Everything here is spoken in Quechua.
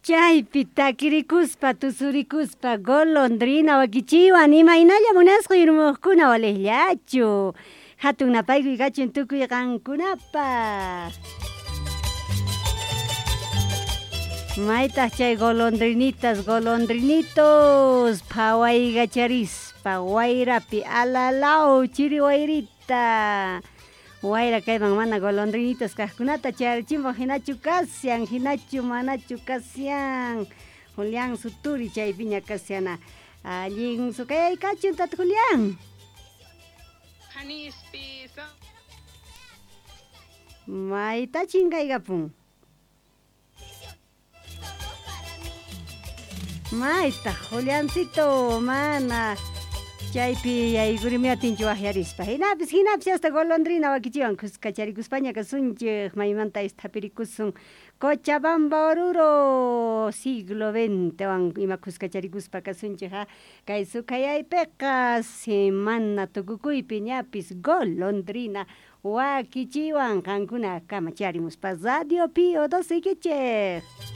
Chaypi takirikuspa tusurikuspa golondrina wakichiwan imaynalla munasqa yurmuqkuna waliqllachu hatun napaykuy kachun tukuy qankunapaq. Maytaq chay golondrinitas golondrinitos phawaykacharispa wayrapi alalaw chiri wayrita. Wayra kayman mana golondrinitas kaqkunata chayarichimpaq hinachu kashan hinachu manachu kashan. Julián Suturi chaypiña kashana. Allin sukayay kachun tata Julián. Mayta chinkaykapun. Mayta Juliancito mana chaypi yaykurimiatinchu waqyarispa hinapis hinapis hasta golondrina wakichiwan kuskacharikuspaña kasunchik maymanta thapirikusun Cochabamba Oruro siglo XX ima kuskacharikuspa kasunchik ha kay sukhayaypiqa semana tukukuypi ñapis golondrina wakichiwan qankuna kama charimuspa Radio Pío 12 ikichik.